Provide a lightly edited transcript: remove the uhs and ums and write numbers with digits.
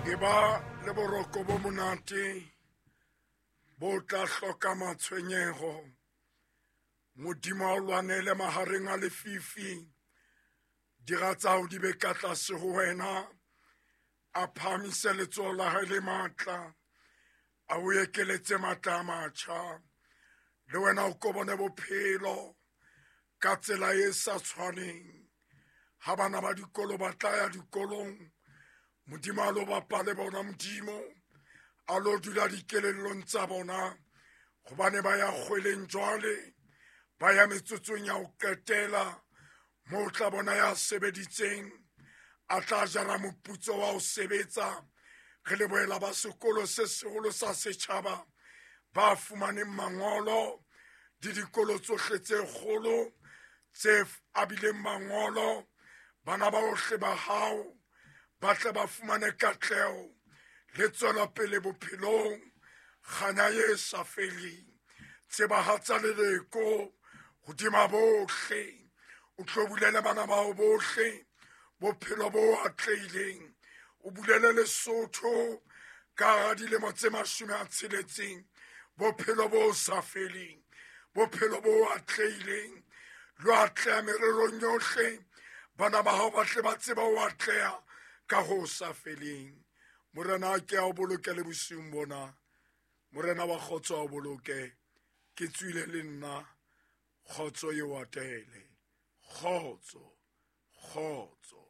E ba le boroko bo monate bo tla hloka matshwenyeho. Modimo a o lwanele mahareng a lefifi. Dira tsa hao di be ka tlase ho wena. A phahamise letsoho la hae le matla. A o ekeletse matla a matjha. Le wena o ko bone bophelo ka tsela e sa tshwaneng. Ha bana ba dikolo ba tla ya dikolong, Modimo a lo bapa le bona, Modimo a lo dula dikelellong tsa bona, gobane ba ya kgweleng jwale, ba ya metsotsong ya ho qetela, moo tla bona ya sebeditseng a tla jara moputso wa ho sebetsa. Re lebohela ba sekolo se seholo sa setjhaba ba fumaneng mangolo le dikolo tsohle tse kgolo tse abileng mangolo. Bana ba bohle ba hao ba tle ba fumane katleho le tswelopele bophelong, kganya ye sa feleng. Tsebahatsa leleko hodima bohle, o tlo bulele bana bao bohle bophelo bo atlehileng, o bulele Lesotho ka hara dilemo tse 60 bophelo bo sa feleng, bophelo bo atlehileng. Lo atleha mererong yohle, bana ba hao ba tle ba tseba ho atleha ka ho sa feleng. Morena a ke a o boloke le bosiung bona. Morena wa kgotso a o boloke. Ke tswile le nna, kgotso e o atele. Kgotso, kgotso.